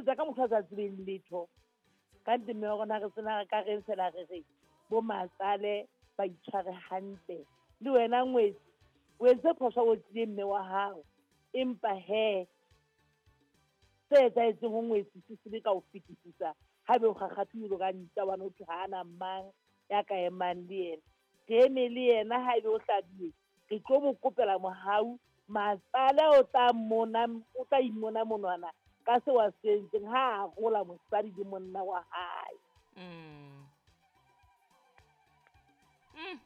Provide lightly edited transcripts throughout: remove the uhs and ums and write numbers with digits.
Etsa ka motho a sa tsebeng letho. Ka nnete mme wa rona re sena ka reng fela re re bo matsale ba itshware hantle. Le wena ngwetsi o entse phoso o tlile mme wa hao. Empa he se etsahetseng ho ngwetsi se sebe ka ho fetisisa ha be o kgakgathile ka ntja hobane ho thwe ha ana mang ya ka emang le yena. Re eme le yena ha ebe o hlabiwe re tlo mo kopela mohau matsale o tla mona o tla imona monwana ka se wa se entseng ha a gola mosadi le monna wa hae.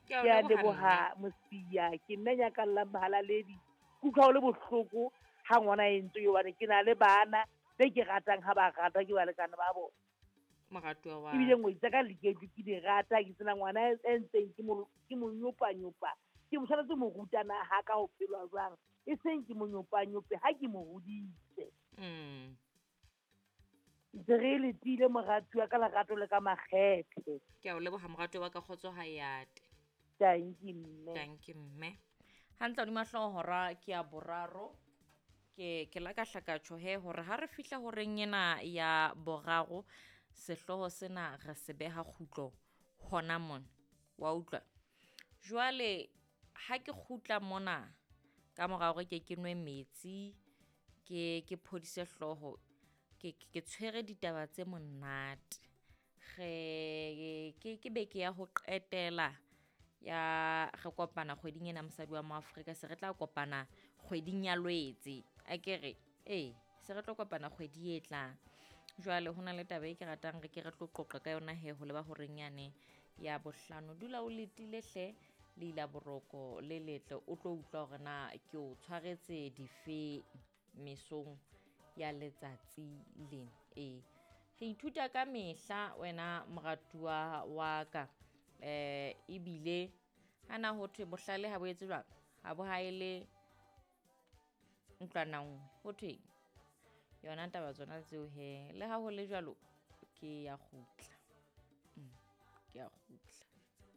Ke Ke a a leboha leboha mme. Mosia, ke nna nyakallang mohalaledi. Ke utlwa ho le bohloko ha ngwana a entswe hobane ke na le bana be ke ratang ha ba ratwa ke balekane ba bona. Moratuwa wa Ebile ngwetsi tsa ka liketlo ke di rata, ke sena ngwana e ntseng ke mo ke mo nyopanyopa. Ke mo tshwanetse mo rutana ha ka ho phelwa jwang. E seng ke mo nyopanyope ha ke mo hodise. Ntse re letile moratuwa ka lerato le ka makgethe. Ke a o leboha moratuwa wa ka, kgotso ha e ate. Tanki mme. Tanki mme. Hantle hodima hlooho hora ke ya boraro. Ke la ka hlaka tjho he hore ha re fihla horeng ena ya boraro sehlooho sena re se beha kgutlo hona mona. Wa utlwa? Jwale ha ke kgutla mona ka mora hore ke ke nwe metsi, ke phodise hlooho, ke tshwere ditaba tse monate. Re ke beke ya ho qetela ya re kopana kgweding ena mosadi wa Moafrika, se re tla kopana kgweding ya Lwetse. Akere ee, se re tlo kopana kgwedi e tlang. Jwale ho na le taba e ke ratang re ke re tlo qoqa ka yona he ho leba horeng yane ya bohlano. Dula o letile hle le ila boroko le letle, o tlo utlwa hore na ke o tshwaretse dife mesong ya letsatsi lena. Ee, re ithuta ka mehla wena moratuwa wa ka. Ebile hana ho thwe bohlale ha bo etse jwang, ha bo haele ntlwana nngwe, ho thweng yona taba tsona tseo he. Le ha ho le jwalo ke ya kgutla. Ke ya kgutla.